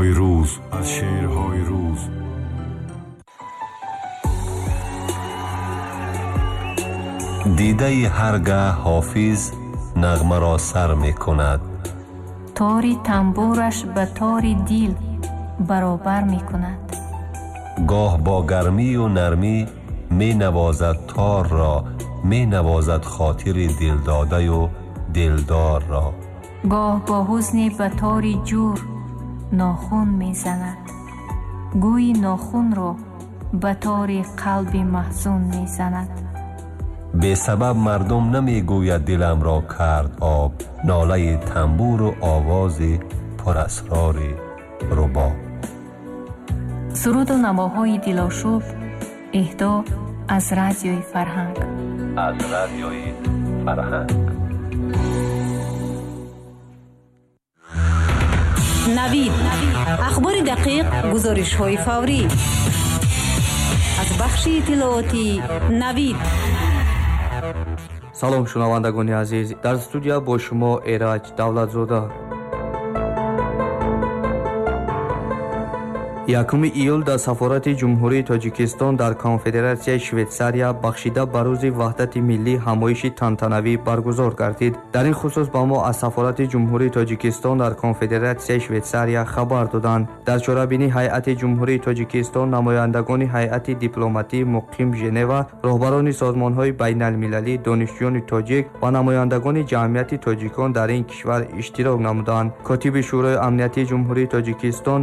Шеърҳои рӯз, аз шеърҳои рӯз. Дидаи ҳар гаҳ Ҳофиз нағмаро сар мекунад. Тори тамбураш ба тори дил баробар мекунад. Гоҳ бо гармию нармӣ менавозад торро, менавозад хотири дилдодаю дилдорро. Гоҳ бо ҳузне ба тори ҷур нохун мезанад, гӯйи нохунро ба тори қалби маҳзун мезанад. Бесабаб мардум намегӯяд диламро кард об, нолаи тамбуру овози пурасрори рубоб. Суруду навоҳои дилошуб эҳдо аз Радиои Фарҳанг. Аз Радиои Фарҳанг. Навид. Ахбори дақиқ, гузоришҳои фаврӣ. Аз бахши иттилоотии Навид. Салом, шунавандагони азиз. Дар студия бо шумо Эраҷ Давлатзода. 1 июл дар Сафорати Ҷумҳурии Тоҷикистон дар Конфедератсияи Швейтсария бахшида ба рӯзи ваҳдати миллӣ ҳамоиши тантанавӣ баргузор гардид. Дар ин хусус ба мо аз Сафорати Ҷумҳурии Тоҷикистон дар Конфедератсияи Швейтсария хабар доданд. Дар чорабинӣ ҳайати Ҷумҳурии Тоҷикистон, намояндагони ҳайати дипломатии муқим Женева, роҳбарони созмонҳои байналмилалӣ, донишҷӯёни тоҷик ва намояндагони ҷамъияти тоҷикон дар ин кишвар иштирок намуданд. Котиби Шӯрои Амниятии Ҷумҳурии Тоҷикистон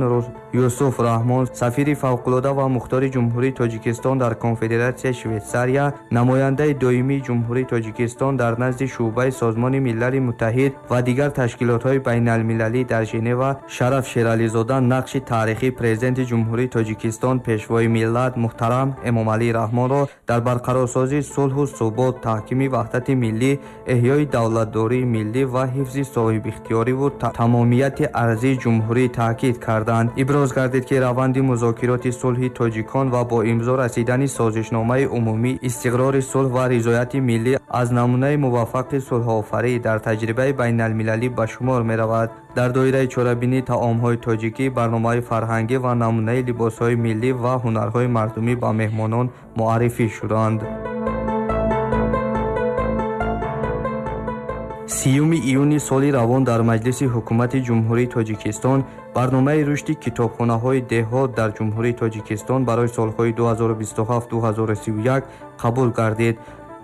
Юсуф Раҳмон, сафири фавқулода ва мухтори Ҷумҳурии Тоҷикистон дар Конфедератсияи Швейтсария, намояндаи доимии Ҷумҳурии Тоҷикистон дар назди шӯъбаи Созмони Милали Муттаҳид ва дигар ташкилотҳои байналмилалӣ дар Женева Шараф Шерализода нақши таърихии президенти Ҷумҳурии Тоҷикистон, пешвои миллат муҳтарам Эмомалӣ Раҳмонро дар барқарорсозии сулҳу субот, таҳкими ваҳдати миллӣ, эҳёи давлатдории миллӣ ва ҳифзи соҳибихтиёриву тамомияти арзии ҷумҳурӣ таъкид карданд. Иброз гардид, ки раванди музокироти сулҳи тоҷикон ва бо имзо расидани созишномаи умумӣ, истиқрори сулҳ ва ризояти миллӣ аз намунаи муваффақи сулҳофарӣ дар таҷрибаи байналмилалӣ ба шумор меравад. Дар доираи чорабинӣ таомҳои тоҷикӣ, барномаҳои фарҳангӣ ва намунаи либосҳои миллӣ ва ҳунарҳои мардумӣ ба меҳмонон муаррифӣ шуданд. 30 июни соли равон дар Маҷлиси Ҳукумати Ҷумҳурии Тоҷикистон барномаи рушди китобхонаҳои деҳот дар Ҷумҳурии Тоҷикистон барои солҳои 2027-2031 қабул гардид.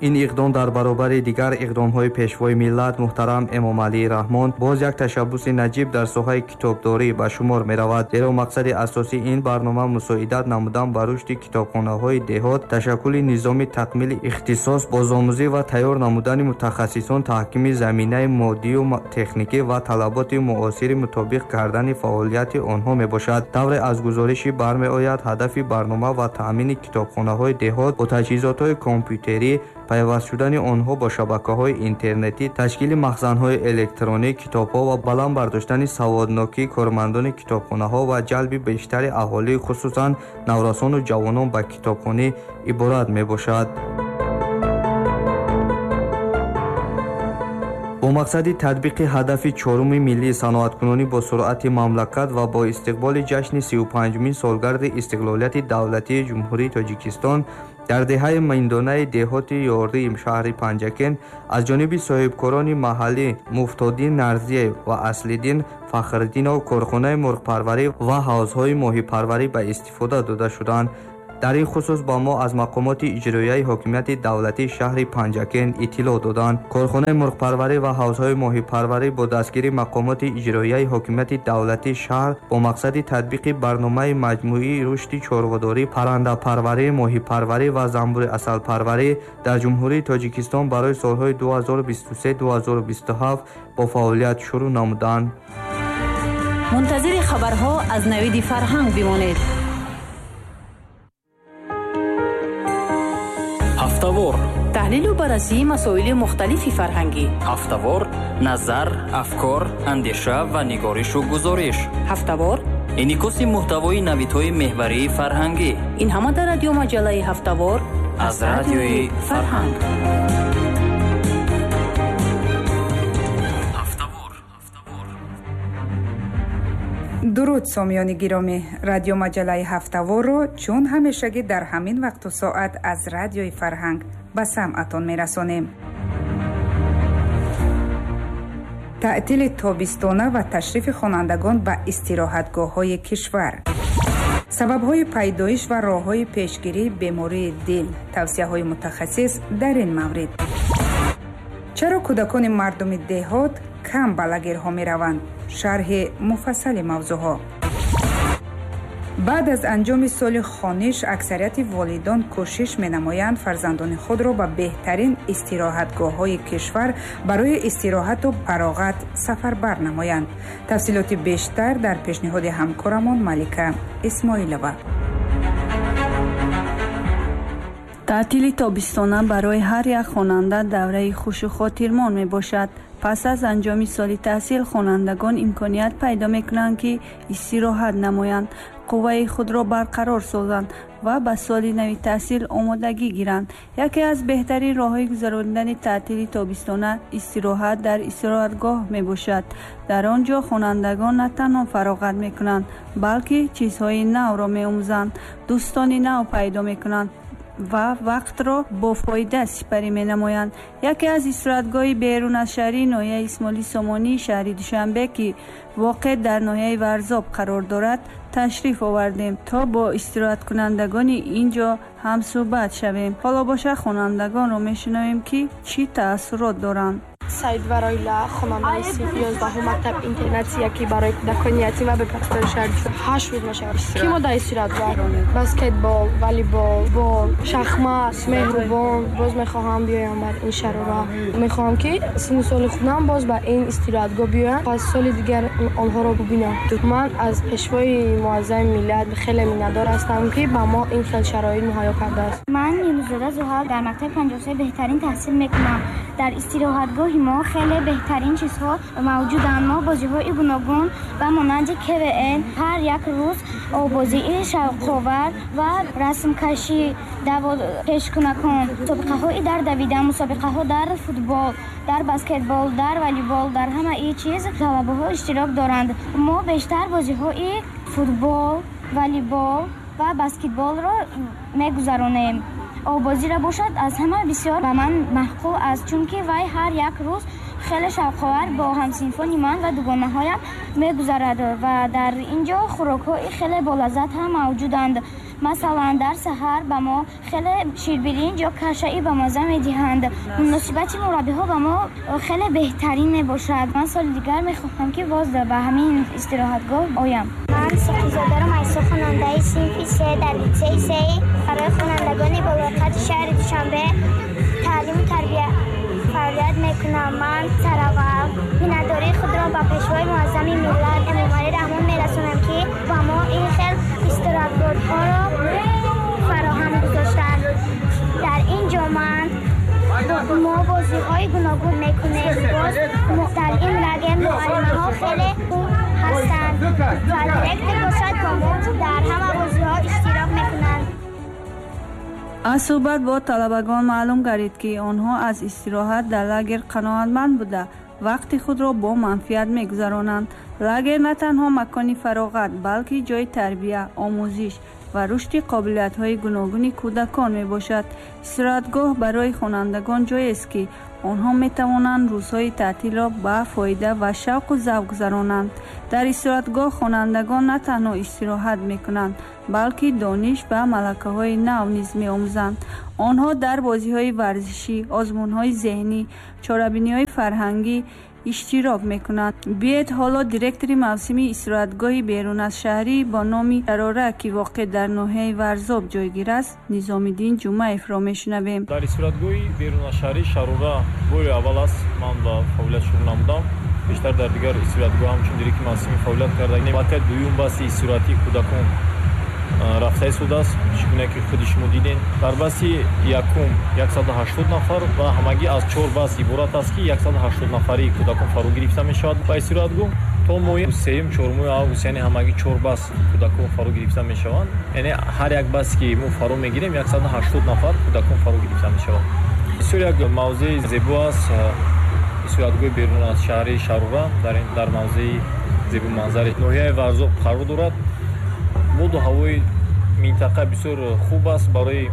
Ин иқдом дар баробари дигар иқдомҳои пешвои миллат муҳтарам Эмомалӣ Раҳмон боз як ташаббуси наҷиб дар соҳаи китобдорӣ ба шумор меравад, зеро мақсади асосии ин барнома мусоидат намудан ба рушди китобхонаҳои деҳот, ташаккули низоми такмили ихтисос, бозомӯзӣ ва тайёр намудани мутахассисон, таҳкими заминаи моддию техникӣ ва талаботи муосири мутобиқ кардани фаъолияти онҳо мебошад. Тавре аз гузориши бармеояд, ҳадафи барнома ва таъмини китобхонаҳои деҳот бо таҷҳизотҳои компютерӣ, пайваст шудани онҳо бо шабакаҳои интернетӣ, ташкили махзанҳои электронӣ, китобҳо ва баланд бардоштани саводнокии кормандони китобхонаҳо ва ҷалби бештари аҳолӣ, хусусан наврасону ҷавонон ба китобхонӣ иборат мебошад. Бо мақсади татбиқи ҳадафи чоруми миллии саноаткунонӣ бо суръати мамлакат ва бо истиқболи ҷашни 35-умин солгарди истиқлолияти давлатии Ҷумҳурии Тоҷикистон дар деҳаи Миндонаи деҳоти Ёрии шаҳри Панҷакент аз ҷониби соҳибкорони маҳаллӣ Муфтоддин Нарзиев ва Аслиддин Фахриддинов корхонаи мурғпарварӣ ва ҳавзҳои моҳипарварӣ ба истифода дода шуданд. Дар ин хусус ба мо аз мақомоти иҷроияи ҳокимияти давлатии шаҳри Панҷакент иттилоъ доданд. Корхонаи мурғпарварӣ ва ҳавзҳои моҳипарварӣ бо дастгирии мақомоти иҷроияи ҳокимияти давлатии шаҳр бо мақсади татбиқи барномаи маҷмӯии рушди чорводорӣ, паррандапарварӣ, моҳипарварӣ ва занбури асалпарварӣ дар Ҷумҳурии Тоҷикистон барои солҳои 2023-2027 бо фаъолият шурӯъ намуданд. Мунтазири хабарҳо аз Навиди Фарҳанг бимонед. Ҳафтавор, таҳлилу баррасии масоили мухталифи фарҳангӣ. Ҳафтавор, назар, афкор, андеша ва нигоришу гузориш. Ҳафтавор, инъикоси муҳтавои навидҳои меҳварии фарҳангӣ. Ин ҳама дар радиомаҷаллаи Ҳафтавор аз Радиои Фарҳанг. Дуруд, сомиёни гиромӣ! Радиомаҷаллаи ҳафтаворро чун ҳамешагӣ дар ҳамин вақту соат аз Радиои Фарҳанг ба самъатон мерасонем. Таътили тобистона ва ташрифи хонандагон ба истироҳатгоҳҳои кишвар, сабабҳои пайдоиш ва роҳҳои пешгирии бемории дил, тавсияҳои мутахассис дар ин маврид. Чаро кӯдакони мардуми деҳот кам ба лагерҳо мераванд? Шарҳи муфассали мавзӯъҳо. Баъд аз анҷоми соли хониш аксарияти волидон кӯшиш менамоянд фарзандони худро ба беҳтарин истироҳатгоҳҳои кишвар барои истироҳату фароғат сафарбар намоянд. Тафсилоти бештар дар пешниҳоди ҳамкорамон Малика Исмоилова. Таътили тобистона барои ҳар як хонанда давраи хушу хотирмон мебошад. Пас аз анҷоми соли таҳсил хонандагон имконият пайдо мекунанд, ки истироҳат намоянд, қувваи худро барқарор созанд ва ба соли нави таҳсил омодагӣ гиранд. Яке аз беҳтарин роҳҳои гузаронидани таътили тобистона истироҳат дар истироҳатгоҳ мебошад. Дар он ҷо хонандагон на танҳо фароғат мекунанд, балки чизҳои навро меомӯзанд, дӯстони нав пайдо мекунанд ва вақтро бо фоида сипарӣ менамоянд. Яке аз истироҳатгоҳи берун аз шаҳрии ноҳияи Исмоили Сомонии шаҳри Душанбе, ки воқеъ дар ноҳияи Варзоб қарор дорад, ташриф овардем, то бо истироҳаткунандагони ин ҷо ҳамсӯҳбат шавем. Ҳоло боша хонандагонро мешунавем, ки чӣ таассурот доранд. Саид Вароила, хонандаи синфи 11 мактаб интернати яке барои кӯдакони ятим ва бепарастори шаҳри Душанбе. 8 рӯз мешавад ки мо дар истироҳатгоҳ баскетбол, волейбол, бол, шахмат, меҳрубон. Боз мехоҳам биёям бар ин шарора. Мехоҳам ки синну соли худам боз ба ин истироҳатгоҳ биёям, пас соли дигар онҳоро бубинам. Ман аз пешвои муаззами миллат хеле миннатдор ҳастам, ки ба мо ин хел шароит муҳайё кардааст. Ман Юнусзода Зуҳал дар мактаби 53 беҳтарин таҳсил мекунам. Дар истироҳатгоҳи мо хеле беҳтарин чизҳо мавҷуданд. Мо бозиҳои гуногун ба монанди КВН, ҳар як рӯз обозии шавқовар ва расмкашӣ, пешкунакон, мусобиқаҳои дар давидан, мусобиқаҳо дар футбол, дар баскетбол, дар волейбол, дар ҳамаи чиз талабаҳо иштирок доранд. Мо бештар бозиҳои футбол, волейбол ва баскетболро мегузаронем. Обозиро бошад аз ҳама бисёр ба ман маъқул аст, чунки вай ҳар як рӯз хеле шавқовар бо ҳамсинфони ман ва дугонаҳоям мегузарад ва дар ин ҷо хӯрокҳои хеле болаззат ҳам мавҷуданд. Масалан, дар саҳар ба мо хеле ширбиринҷ ё кашаи бамаза медиҳанд. Муносибати мураббиҳо ба мо хеле беҳтарин мебошад. Ман соли дигар мехоҳам, ки боз ба ҳамин истироҳатгоҳ оям. Ман Соқизода Майсо, хонандаи синфи 3 дар литсеи 3 барои хонандагони болоқади шаҳри Душанбе таълиму тарбия фаъолият мекунам. Ман сараввал миннатдории худро ба пешвои муаззами миллат Эмомалӣ Раҳмон мерасонам, ки ба мо ин хел истироҳатгоҳҳоро фароҳам гузоштанд. Дар ин ҷо мо бозиҳои гуногун мекунем. Боз дар ин лагер муаллимаҳо хеле хуб ҳастанд ва директор бошад бо мо дар ҳама бозиҳо иштирок мекунанд. Аз суҳбат бо талабагон маълум гардид, ки онҳо аз истироҳат дар лагер қаноатманд буда, вақти худро бо манфиат мегузаронанд. Лагер на танҳо макони фароғат, балки ҷои тарбия, омӯзиш ва рушди қобилиятҳои гуногуни кӯдакон мебошад. Истироҳатгоҳ барои хонандагон ҷоест, ки онҳо метавонанд рӯзҳои таътилро ба фоида ва шавқу завқ гузаронанд. Дар истироҳатгоҳ хонандагон на танҳо истироҳат мекунанд, балки дониш ва малакаҳои нав низ меомӯзанд. Онҳо дар бозиҳои варзишӣ, озмунҳои зеҳнӣ, чорабиниҳои фарҳангӣ иштирок мекунанд. Биед ҳоло директори мавсими истироҳатгоҳи берун аз шаҳрӣ бо номи Шарора, ки воқеъ дар ноҳияи Варзоб ҷойгир аст, Низомиддин Ҷумаевро мешунавем. Дар истироҳатгоҳи берун аз шаҳрӣ Шарора бори аввал аст ман ба фаъолият шурӯъ намудам. Бештар дар дигар истироҳатгоҳ ҳамчун директори мавсими фаъолият карда. Аллакай дуюм баси истироҳатии кӯдакон рафта истодааст, чӣ гуна ки худи шумо дидем. Дар баси якум 180 нафар ва ҳамагӣ аз 4 бас иборат аст, ки 180 нафари кӯдакон фаро гирифта мешавад ба истироҳатгоҳ. То моҳи сеюм, чорумои август, яъне ҳамагӣ 4 бас кӯдакон фаро гирифта мешаванд. Яъне ҳар як бас ки мо фаро мегирем, 180 нафар кӯдакон фаро гирифта мешаванд. Бисёр як мавзеи зебо аст истироҳатгоҳи берун аз шаҳри Шарора, дар мавзеи зебоманзари ноҳияи Варзоб қарор дорад. Боду ҳавои минтақа бисёр хуб аст, барои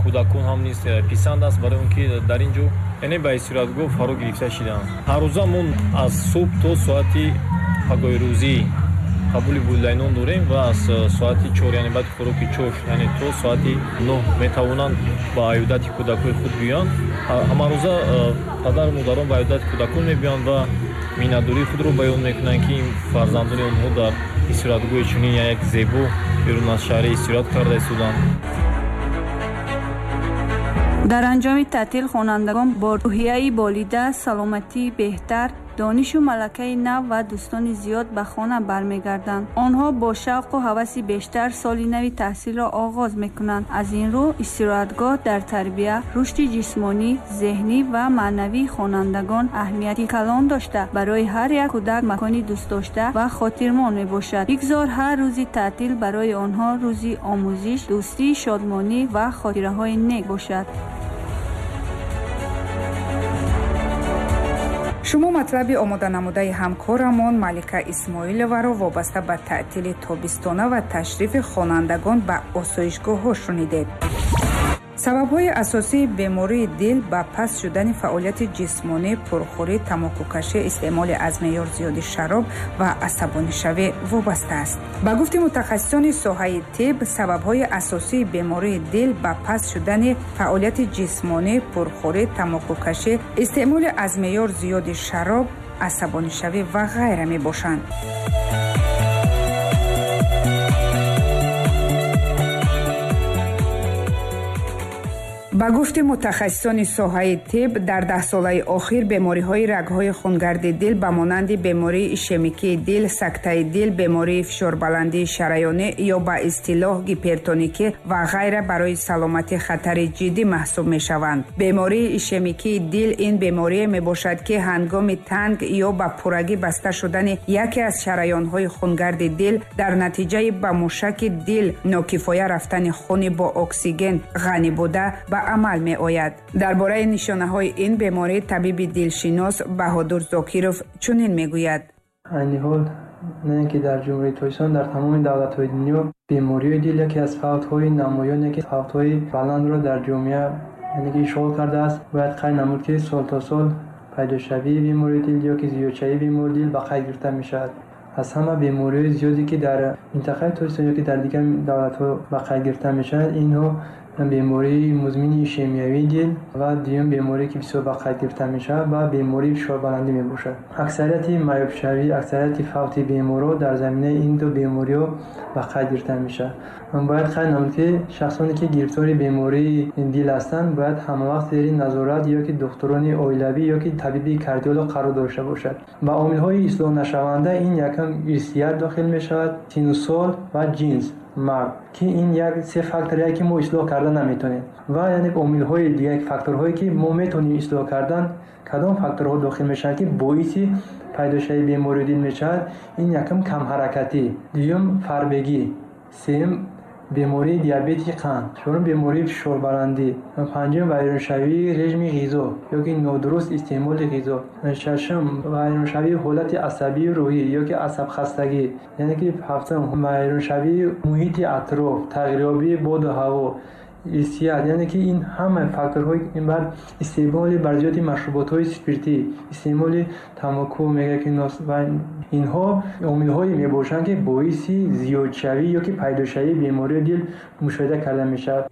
кӯдакон ҳам низ писанд аст, барои он ки дар ин ҷо яъне ба истироҳатгоҳ фаро гирифта шидаанд. Ҳаррӯза мо аз субҳ то соати пагоҳирӯзӣ қабули волидайнон дорем ва аз соати 4, яъне баъди хӯроки чош, яъне то соати 9 метавонанд ба аёдати кӯдакҳои худ биёянд. Ҳамарӯза падару модарон ба аёдати кӯдакон мебиёянд ва миннатдории худро баён мекунанд, ки ин фарзандони онҳо дар истироҳатгоҳи чунин як зебо берун аз шаҳри истироҳат карда истоданд. Дар анҷоми таътил хонандагон бо рӯҳияи болида, саломатии беҳтар, донишу малакаи нав ва дӯстони зиёд ба хона бармегарданд. Онҳо бо шавқу ҳаваси бештар соли нави таҳсилро оғоз мекунанд. Аз ин рӯ истироҳатгоҳ дар тарбия, рушди ҷисмонӣ, зеҳнӣ ва маънавии хонандагон аҳамияти калон дошта, барои ҳар як кӯдак макони дӯстдошта ва хотирмон мебошад. Бигзор ҳар рӯзи таътил барои онҳо рӯзи омӯзиш, дӯстӣ, шодмонӣ ва хотираҳои нек бошад. Шумо матлаби омоданамудаи ҳамкорамон Малика Исмоиловаро вобаста ба таътили тобистона ва ташрифи хонандагон ба осоишгоҳҳо шунидед. Сабабҳои асосии бемории дил ба паст шудани фаъолияти ҷисмонӣ, пурхӯрӣ, тамокукашӣ, истеъмоли аз меъёр зиёди шароб ва асабонишавӣ вобаста аст. Ба гуфти мутахассисони соҳаи тиб, сабабҳои асосии бемории дил ба паст шудани фаъолияти ҷисмонӣ, пурхӯрӣ, тамокукашӣ, истеъмоли аз меъёр зиёди шароб, асабонишавӣ ва ғайра мебошанд. Ба гуфти мутахассисони соҳаи тиб, дар 10 солаи охир бемориҳои рагҳои хунгарди дил ба монанди бемории ишемикии дил, сактаи дил, бемории фишорбаландии шараёнӣ ё ба истилоҳ гипертоникӣ ва ғайра барои саломатӣ хатари ҷиддӣ маҳсуб мешаванд. Бемории ишемикии дил ин беморие мебошад, ки ҳангоми танг ё ба пуррагӣ баста шудани яке аз шараёнҳои хунгарди дил дар натиҷаи ба мушаки дил нокифоя рафтани хуни бо оксиген ғанӣ буда ба амал меояд. Дар бораи нишонаҳои ин беморӣ табиби дилшинос Баҳодур Зокиров чунин мегӯяд. Айни ҳол на ин ки дар Ҷумҳурии Тоҷикистон, дар тамоми давлатҳои дунё бемориҳои дил яке аз фавтҳои намоён, яке фавтҳои баландро дар ҷомеа, яъне ки ишғол кардааст. Бояд қайд намуд, ки сол то сол пайдошавии бемории дил ё ки зиёдшавии бемории дил ба қайд гирифта мешавад. Аз ҳама бемориҳои зиёде, ки дар минтақаи Тоҷикистон ё ки дар дигар давлатҳо ба қайд гирифта мешаванд, инҳо бемории музмини ишемиявии дил ва дуюм беморие, ки бисёр ба қайд гирифта мешавад, ва бемории фишорбаландӣ мебошад. Аксарияти маёбшавӣ, аксарияти фавти беморҳо дар заминаи ин ду бемориҳо ба қайд гирифта мешавад. Бояд қайд намуд, ки шахсоне, ки гирифтори бемории дил ҳастанд, бояд ҳамавақт зери назорат ё ки духтурони оилавӣ ё ки табиби кардиолог қарор дошта бошад. Ба омилҳои ислоҳнашаванда ин якум ирсият дохил мешавад, сину сол ва ҷинс мард, ки ин як се факторе, ки мо ислоҳ карда наметавонем. Ва яъне омилҳои дигар, факторҳое, ки мо метавонем ислоҳ кардан, кадом факторҳо дохил мешаванд, ки боиси пайдошавии бемории дил мешавад? Ин якум камҳаракатӣ, дуюм фарбегӣ, сеюм бемории диабети қанд, чорум бемории фишорбаландӣ, панҷум вайроншавии режими ғизо ё ки нодуруст истеъмоли ғизо, шашум вайроншавии ҳолати асабию рӯҳӣ ё ки асабхастагӣ, яъне ки ҳафтум вайроншавии муҳити атроф, тағйирёбии боду ҳаво, ирсият, яъне ки ин ҳама факторҳои баъд истеъмоли барзиёди машруботҳои спиртӣ, истеъмоли тамоку мега ки ва инҳо омилҳое мебошанд, ки боиси зиёдшавӣ ё ки пайдошавии бемории дил мушоҳида карда мешавад.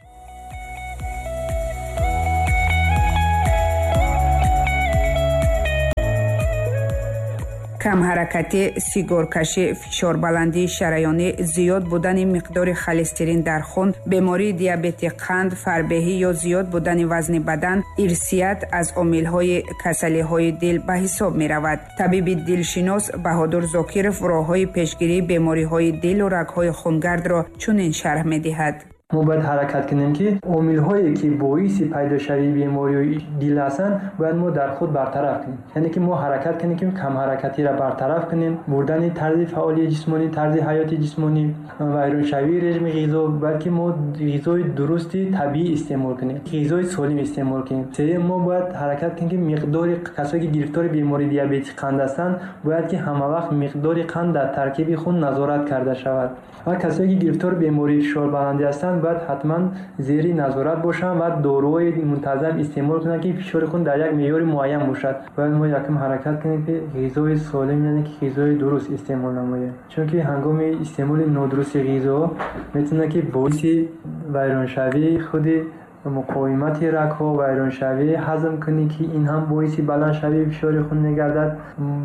Камҳаракатӣ, сигоркашӣ, фишорбаландии шараёнӣ, зиёд будани миқдори холестерин дар хун, бемории диабети қанд, фарбеҳӣ ё зиёд будани вазни бадан, ирсият аз омилҳои касалиҳои дил ба ҳисоб меравад. Табиби дилшинос Баҳодур Зокиров роҳҳои пешгирии бемориҳои дилу рагҳои хунгардро чунин шарҳ медиҳад. Мо бояд ҳаракат кунем, ки омилҳое, ки боиси пайдошавии бемориҳои дил ҳастанд, бояд мо дар худ бартараф кунем. Яъне ки мо ҳаракат кунем, ки камҳаракатиро бартараф кунем, бурдани тарзи фаъолияти ҷисмонӣ, тарзи ҳаёти ҷисмонӣ, вайроншавии режими ғизо, бояд ки мо ғизои дурусти табиӣ истеъмол кунем, ғизои солим истеъмол кунем. Сеюм, мо бояд ҳаракат кунем, ки миқдори касое, ки гирифтори бемории диабети қанд ҳастанд, бояд ки ҳамавақт миқдори қанд дар таркиби хун назорат карда шавад. Ва касое, ки гирифтори бемории фишорбаландӣ ҳастанд, бояд ҳатман зери назорат бошанд ва доруҳои мунтазам истеъмол кунанд, ки фишори хун дар як меъёри муайян бошад. Бояд мо якум ҳаракат кунем, ки ғизои солим, яъне ки ғизои дуруст истеъмол намоем, чунки ҳангоми истеъмоли нодурусти ғизо метавонад, ки боиси вайроншавии худи муқовимати рагҳо, вайроншавии ҳазмкунӣ, ки ин ҳам боиси баландшавии фишори хун мегардад.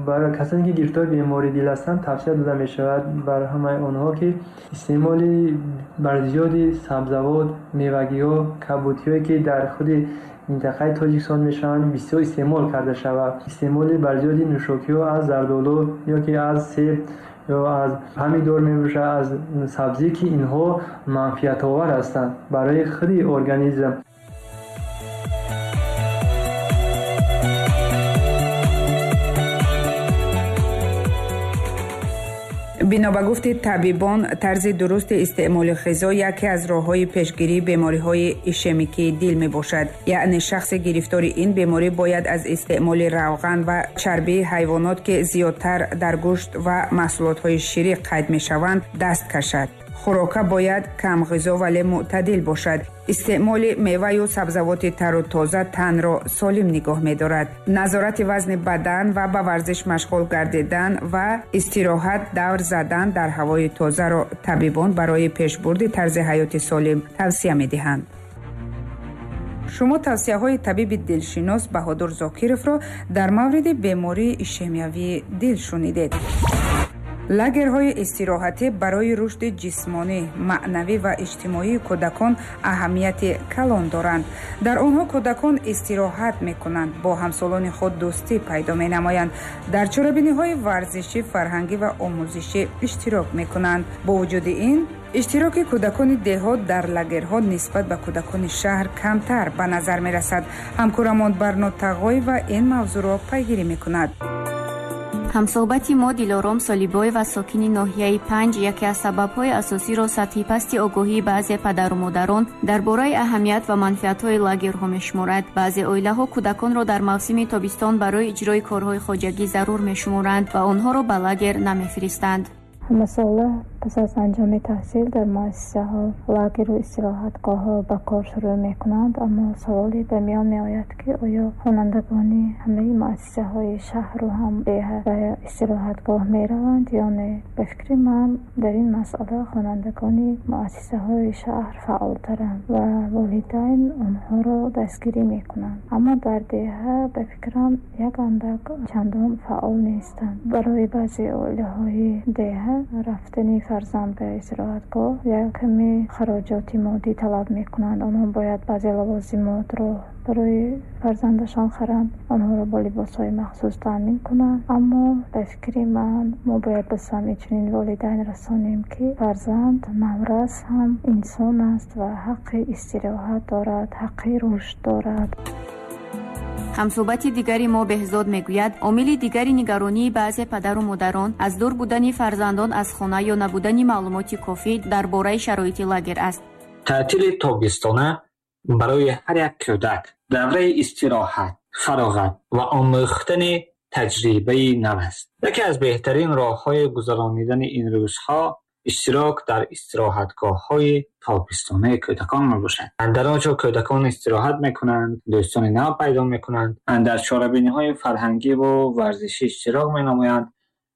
Барои касоне, ки гирифтори бемории дил ҳастанд, тавсия дода мешавад бар ҳамаи онҳо, ки истеъмоли барзиёди сабзавот, мевагиҳо, кабудиҳое, ки дар худи минтақаи Тоҷикистон мешаванд, бисёр истеъмол карда шавад. Истеъмоли барзиёди нӯшокиҳо аз зардолу ё ки аз себ ё аз помидор мебошад, аз сабзӣ, ки инҳо манфиатовар ҳастанд барои худи организм. Бино ба гуфти табибон, тарзи дурусти истеъмоли ғизо яке аз роҳҳои пешгирии бемориҳои ишемикии дил мебошад. Яъне шахси гирифтори ин беморӣ бояд аз истеъмоли равған ва чарбии ҳайвонот, ки зиёдтар дар гӯшт ва маҳсулотҳои ширӣ қайд мешаванд, даст кашад. Хӯрока бояд камғизо, вале мӯътадил бошад. Истеъмоли меваю сабзавоти тару тоза танро солим нигоҳ медорад. Назорати вазни бадан ва ба варзиш машғул гардидан ва истироҳат давр задан дар ҳавои тозаро табибон барои пешбурди тарзи ҳаёти солим тавсия медиҳанд. Шумо тавсияҳои табиби дилшинос Баҳодур Зокировро дар мавриди бемории ишемиявии дил шунидед. Лагерҳои истироҳатӣ барои рушди ҷисмонӣ, маънавӣ ва иҷтимоии кӯдакон аҳамияти калон доранд. Дар онҳо кӯдакон истироҳат мекунанд, бо ҳамсолони худ дӯстӣ пайдо менамоянд, дар чорабиниҳои варзишӣ, фарҳангӣ ва омӯзишӣ иштирок мекунанд. Бо вуҷуди ин, иштироки кӯдакони деҳот дар лагерҳо нисбат ба кӯдакони шаҳр камтар ба назар мерасад. Ҳамкорамон Барно Тағоева ин мавзӯъро пайгирӣ мекунад. Ҳамсӯҳбати мо Дилором Солибоева, сокини ноҳияи Панҷ, яке аз сабабҳои асосиро сатҳи пасти огоҳии баъзе падару модарон дар бораи аҳамият ва манфиатҳои лагерҳо мешуморад. Баъзе оилаҳо кӯдаконро дар мавсими тобистон барои иҷрои корҳои хоҷагӣ зарур мешуморанд ва онҳоро ба лагер намефиристанд. Ҳамасола пас аз анҷоми таҳсил дар муассисаҳо лагеру истироҳатгоҳҳо ба кор шурӯъ мекунанд, аммо саволе ба миён меояд, ки оё хонандагони ҳамаи муассисаҳои шаҳру ҳам деҳа ба истироҳатгоҳ мераванд ё не? Ба фикри ман, дар ин масъала хонандагони муассисаҳои шаҳр фаъолтаранд ва волидайн онҳоро дастгирӣ мекунанд, аммо дар деҳа, ба фикрам, як андак чандон фаъол нестанд. Барои баъзе оилаҳои деҳа рафтани фарзанд ба истироҳатгоҳ як ками хароҷоти моддӣ талаб мекунанд. Онҳо бояд баъзе лавозимотро барои фарзандашон харанд, онҳоро бо либосҳои махсус таъмин кунанд. Аммо ба фикри ман, мо бояд ба самъи чунин волидайн расонем, ки фарзанд наврас ҳам инсон аст ва ҳаққи истироҳат дорад, ҳаққи рушд дорад. Ҳамсӯҳбати дигари мо Беҳзод мегӯяд, омили дигари нигаронии баъзе падару модарон аз дур будани фарзандон аз хона ё набудани маълумоти кофӣ дар бораи шароити лагер аст. Таътили тобистона барои ҳар як кӯдак давраи истироҳат, фароғат ва омӯхтани таҷрибаи нав аст. Яке аз беҳтарин роҳҳои гузаронидани ин рӯзҳо иштирок дар истироҳатгоҳҳои тобистонаи кӯдакон мебошад. Дар он ҷо кӯдакон истироҳат мекунанд, дӯстони нав пайдо мекунанд, дар чорабиниҳои фарҳангӣ ва варзишӣ иштирок менамоянд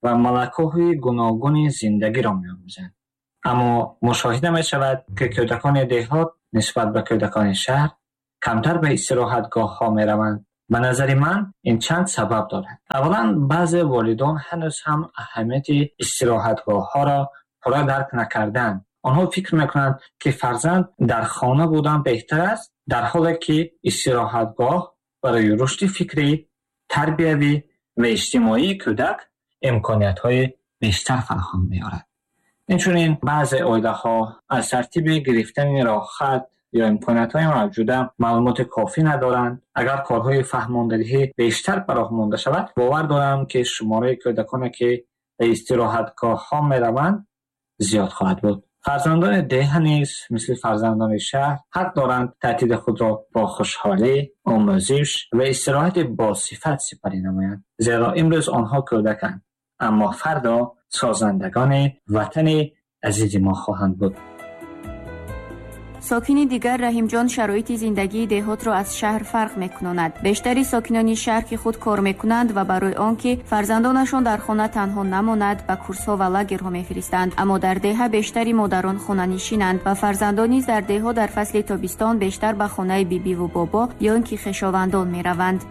ва малакаҳои гуногуни зиндагиро меомӯзанд. Аммо мушоҳида мешавад, ки кӯдакони деҳот нисбат ба кӯдакони шаҳр камтар ба истироҳатгоҳҳо мераванд. Ба назари ман, ин чанд сабаб дорад. Аввалан, баъзе волидон ҳанӯз ҳам аҳамияти истироҳатгоҳҳоро пурра дарк накарданд. Онҳо фикр мекунанд, ки фарзанд дар хона будан беҳтар аст, дар ҳоле ки истироҳатгоҳ барои рушди фикрӣ, тарбиявӣ ва иҷтимоии кӯдак имкониятҳои бештар фароҳам меорад. Инчунин баъзе оилаҳо аз тартиби гирифтани роҳхат ё имкониятҳои мавҷуда маълумоти кофӣ надоранд. Агар корҳои фаҳмондадиҳӣ бештар ба роҳ монда шавад, бовар дорам, ки шумораи кӯдаконе, ки ба истироҳатгоҳҳо мераванд, зиёд хоҳад буд. Фарзандони деҳа низ мисли фарзандони шаҳр ҳақ доранд таътили худро бо хушҳолӣ, омӯзиш ва истироҳати босифат сипарӣ намоянд, зеро имрӯз онҳо кӯдаканд, аммо фардо созандагони ватани азизи мо хоҳанд буд. Сокини дигар Раҳимҷон шароити зиндагии деҳотро аз шаҳр фарқ мекунонад. Бештари сокинони шаҳр, ки худ кор мекунанд ва барои он ки фарзандонашон дар хона танҳо намонад, ба курсҳо ва лагерҳо мефиристанд. Аммо дар деҳа бештари модарон хонанишинанд ва фарзандон низ дар деҳо дар фасли тобистон бештар ба хонаи бибиву бобо ё ин ки хешовандон мераванд.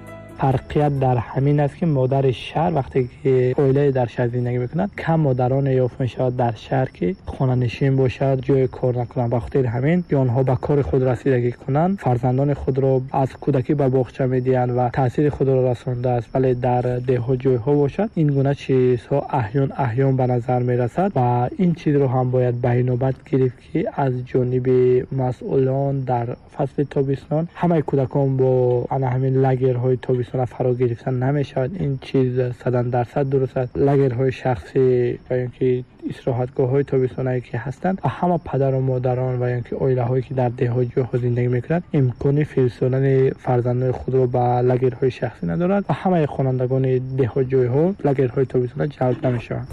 Фарқият дар ҳамин аст, ки модари шаҳр вақте ки оилае дар шаҳр зиндагӣ мекунад, кам модароне ёфт мешавад дар шаҳр, ки хонанишин бошад, ҷои кор накунанд. Ба хотири ҳамин ки онҳо ба кори худ расидагӣ кунанд, фарзандони худро аз кӯдакӣ ба боғча медиҳанд ва таъсири худро расондааст. Вале дар деҳот ҷойҳо бошад, ин гуна чизҳо аҳён аҳён ба назар мерасад ва ин чизро ҳам бояд ба инобат гирифт, ки аз ҷониби масъулон дар фасли тобистон ҳамаи кӯдакон бо ана ҳамин лагерҳои тобистона фаро гирифтан намешавад. Ин чиз 100% дуруст аст. Лагерҳои шахсӣ ва ё ки истироҳатгоҳҳои тобистонае ки ҳастанд, ва ҳама падару модарон ва ё ки оилаҳое ки дар деҳот ҷойҳо зиндагӣ мекунанд, имкони фиристодани фарзандони худро ба лагерҳои шахсӣ надоранд ва ҳамаи хонандагони деҳот ҷойҳо лагерҳои тобистона ҷалб намешаванд.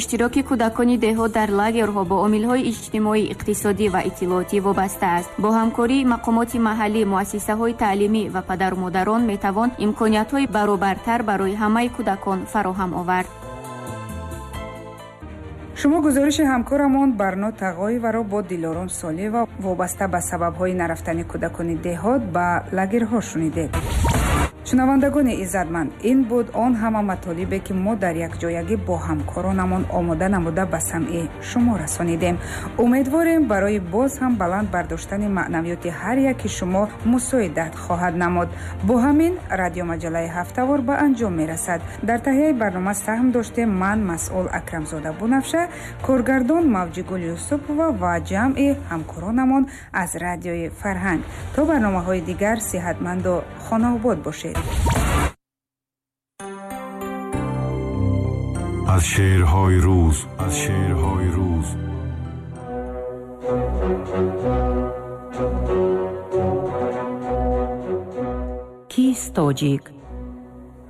Иштироки кӯдакони деҳот дар лагерҳо бо омилҳои иҷтимоӣ, иқтисодӣ ва иттилоотӣ вобаста аст. Бо ҳамкории мақомоти маҳаллӣ, муассисаҳои таълимӣ ва падару модарон метавон имкониятҳои баробартар барои ҳамаи кӯдакон фароҳам овард. Шумо гузориши ҳамкорамон Барно Тағоеваро бо Дилором Солиева вобаста ба сабабҳои нарафтани кӯдакони деҳот ба лагерҳо шунидед. Шунавандагони иззатманд, ин буд он ҳама матолибе, ки мо дар якҷоягӣ бо ҳамкоронамон омода намуда ба самъи шумо расонидем. Умедворем, барои боз ҳам баланд бардоштани маънавиёти ҳар яки шумо мусоидат хоҳад намуд. Бо ҳамин радиомаҷаллаи ҳафтавор ба анҷом мерасад. Дар таҳияи барнома саҳм доштем ман, масъул Акрамзода Бунафша, коргардон Мавҷигул Юсупова ва ҷамъи ҳамкоронамон аз Радиои Фарҳанг. То барномаҳои дигар сиҳатманду хонаобод бошед. Аз шеърҳои рӯз, аз шеърҳои рӯз. Кист тоҷик?